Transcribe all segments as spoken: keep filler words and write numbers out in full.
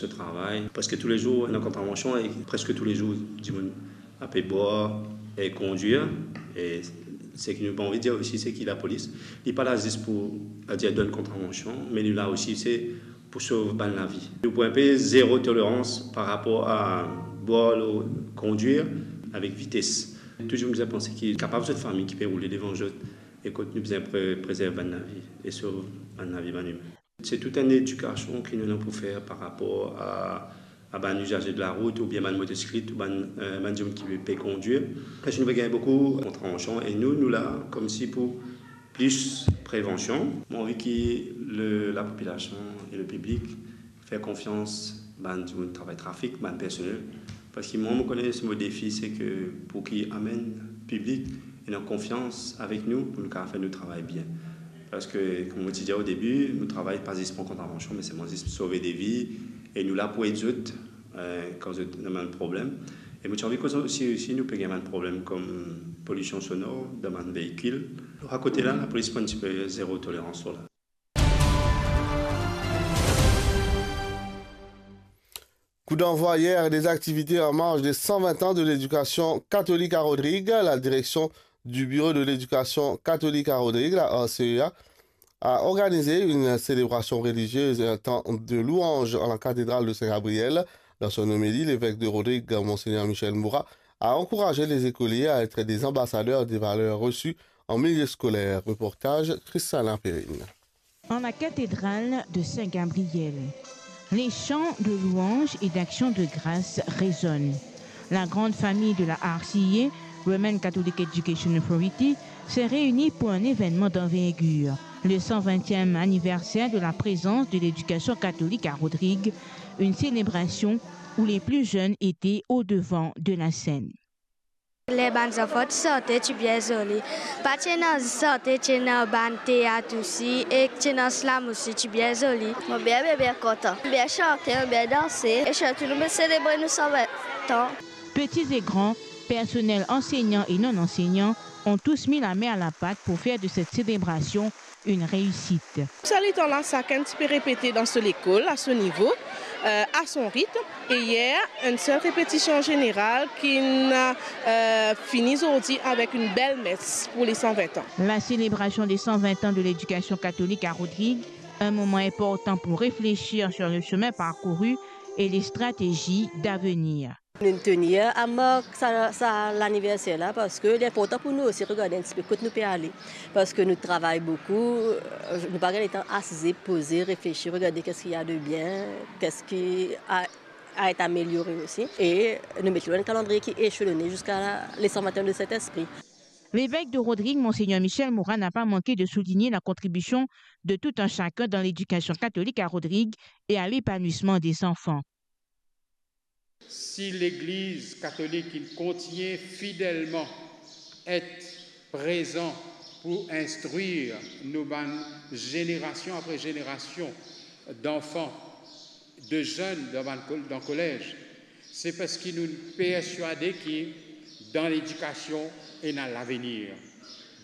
So travay, preske toulezour ena kontravansion e preske toulezour dimoun ape bwar e kondwir. E seki nou pa anvi dir osi, seki lapolis, li pa la zis pou, adir, donn kontravansion, me li la osi, se pou sov bann lavi. Nou pou inpe zero tolerans par rapor a bwar lor kondwir avek vites. Touzour nou bizin panse ki kapav zot fami ki pe roule devan zot, e kot nou bizin pre-, prezerv bann lavi e sov bann lavi bann imin. Se tou enn edikasion ki nou ena pou fer par rapor a, a bann izaze de larout oubien bann motosiklet ou bann, eh, bann dimoun ki pe kondwir. Parski nou pe gagn boukou kontravansion e nou, nou la koumsi pou plis prevansion. Mo anvi ki le, lapopilasion e lepiblik fer konfians bann dimoun travay trafik, bann personel. Parski mwa, mo kone se mo defi, se ke pou ki amenn piblik ena konfians avek nou, pou nou kapav fer nou travay bien. Parski, kouma mo ti dir o debi, nou travay pa zis pran kontravansion, me selman zis sove de vi, e nou la pou ed zot, eh, kan zot ena bann problem. E mo ti anvi koz osi, si nou pe gagn bann problem kom polision sonor dan bann veikil. Lor sa kote la, lapolis pran tipe zero tolerans lor la. Coup d'envoi hier des activités en marge des cent vingt ans de l'éducation catholique à Rodrigues. La direction du Bureau de l'éducation catholique à Rodrigues, la R C E A, a organisé une célébration religieuse et un temps de louange à la cathédrale de Saint-Gabriel. Dans son homélie, l'évêque de Rodrigues, Monseigneur Michel Moura, a encouragé les écoliers à être des ambassadeurs des valeurs reçues en milieu scolaire. Reportage, Christiana Perrine. En la cathédrale de Saint-Gabriel, les chants de louange et d'action de grâce résonnent. La grande famille de la R C E A, Roman Catholic Education Authority, s'est réunie pour un événement d'envergure, le cent vingtième anniversaire de la présence de l'éducation catholique à Rodrigues, une célébration où les plus jeunes étaient au devant de la scène. Ler bann zanfan ti sante, ti bien zoli. Pa ti ena sante, ti ena bann teat osi, e ti ena slam osi, ti bien zoli. Mo bien, bien, bien kontan. Bien sante, bien danse, e sirtou nou pe selebre nou san vin an. Petits et grands, personnel enseignant et non enseignant, ont tous mis la main à la pâte pour faire de cette célébration une réussite. Sa letan la, sakenn ti pe repete dan so lekol, a so nivo, euh, à son rythme. E yer, enn sel repetision zeneral ki'nn, euh, fini zordi avek enn bel mes pou le san vin an. La célébration des cent vingt ans de l'éducation catholique à Rodrigues, un moment important pour réfléchir sur le chemin parcouru et les stratégies d'avenir. Nou'nn tenir a mark sa, sa laniverser la, parski li inportan pou nou osi regarde enn tipe kot nou pe ale, parski nou travay boukou, euh, nou pa gagn letan asize, poze, reflesir, regarde qu'est-ce qu'il y a de bien, qu'est-ce qui a, a été amélioré aussi, e nou met li dan enn kalandriye ki eselone ziska le san vin an de Sint-Espri. L'évêque de Rodrigues, Monseigneur Michel Moura, n'a pas manqué de souligner la contribution de tout un chacun dans l'éducation catholique à Rodrigues et à l'épanouissement des enfants. Si Legliz Katolik inn kontign fidelman et prezan pou instrir nou bann zenerasion apre zenerasion danfan, de zenn dan bann kol-, dan kolez, se parski nou perswade ki dan ledikasion ena lavenir.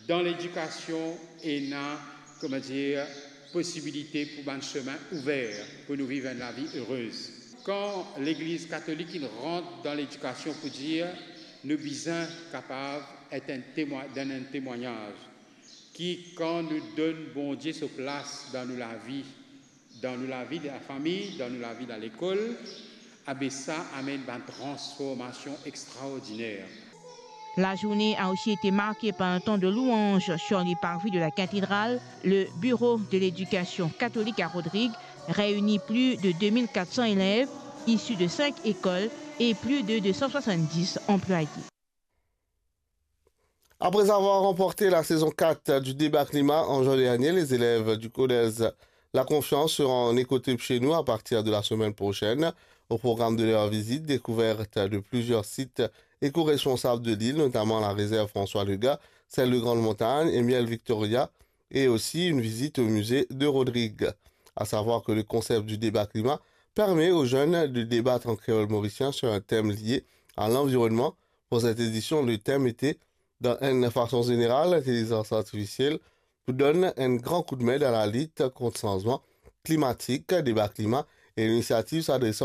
Dan ledikasion ena, kouma dir, posibilite pou bann semin ouver, pou nou viv enn lavi erez. Kan Legliz Katolik inn rant dan ledikasion pou dir nou bizin kapav et enn temwa-, donn enn temwagnaz, ki kan nou donn Bondie so plas dan nou lavi, dan nou lavi dan lafami, dan nou lavi dan lekol, abe sa amenn bann transformasion extraordiner. La journée a aussi été marquée par un temps de louange sur les parvis de la cathédrale. Le bureau de l'éducation catholique à Rodrigues réunit plus de deux mille quatre cents élèves issus de cinq écoles et plus de deux cent soixante-dix employés. Après avoir remporté la saison quatre du débat climat en juin dernier, les élèves du collège La Confiance seront en écotrip chez nous à partir de la semaine prochaine. Au programme de leur visite, découverte de plusieurs sites éco-responsables de l'île, notamment la réserve François Legas, celle de Grande Montagne et Miel Victoria, et aussi une visite au musée de Rodrigues. À savoir que le concept du débat climat permet aux jeunes de débattre en créole mauricien sur un thème lié à l'environnement. Pour cette édition, le thème était, dan enn fason zeneral, l'intelligence artificielle pou donn enn gran koudme dan lalit kont sanzman klimatik. Débat climat E linisiativ sa adres ar